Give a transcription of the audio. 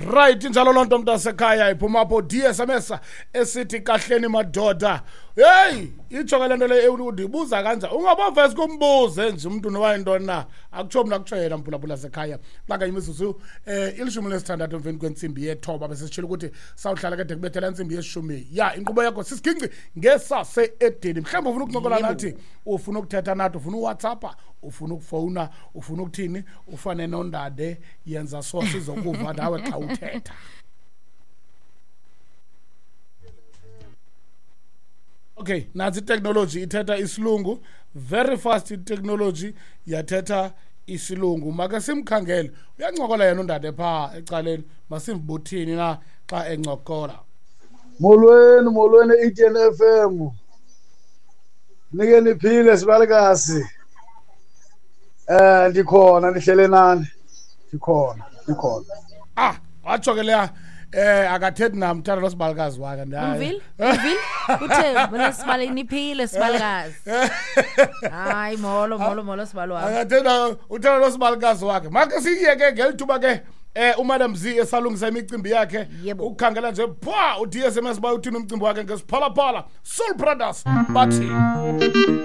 Right, injalo loo nto, mntasekhaya. Iphuma apho DSMS esithi kahleni madoda. Heyi, itsho ke le nto leyo, undibuza kanja, ungabovesi kumbuze nje umntu noba yintoni na. Akutsho mna, kutsho yena, mphulaphula sekhaya. Xa imizuzu 16 emveni kwentsimbi yethoba, besisitshilo ukuthi sawuhlala ke de kubethela intsimbi yeshumi. Ya, inkqubo yakho sisiginci ngesase-edeni. Mhlawumbi ufuna ukuncokola nathi, ufuna ukuthetha nathi, ufuna uWhatsAppa, ufuna ukufowuna, ufuna ukuthini, ufane nondade, yenza so sizokuva nawe xa uthetha. Okay, nantsi iteknoloji ithetha isilungu very fast. Iteknoloji yathetha isilungu. Make simkhangele, uyancokola yena undade phaa ecaleni. Masimbuthini na xa encokola. Molweni, molweni e-Eden FM. Nike niphile, sibalikazi. Ndikhona, ndihlele nani. Ndikhona, ndikhona. Ah, watsho ke leya, akathethi nam, thanda lo sibalikazi wakhe. Umvile? Umvile? Uthe bona sibale niphile sibalikazi. Hayi, molo molo molo sibalo wami. Akathenda, uthanda lo sibalikazi wakhe. Make siyeke ngeli thuba ke uMadam Z esalungisa imicimbi yakhe. Ukukhangela nje pha u-DSMS, uba uthini umcimbi wakhe ngesiphalaphala. Soul Brothers bathi.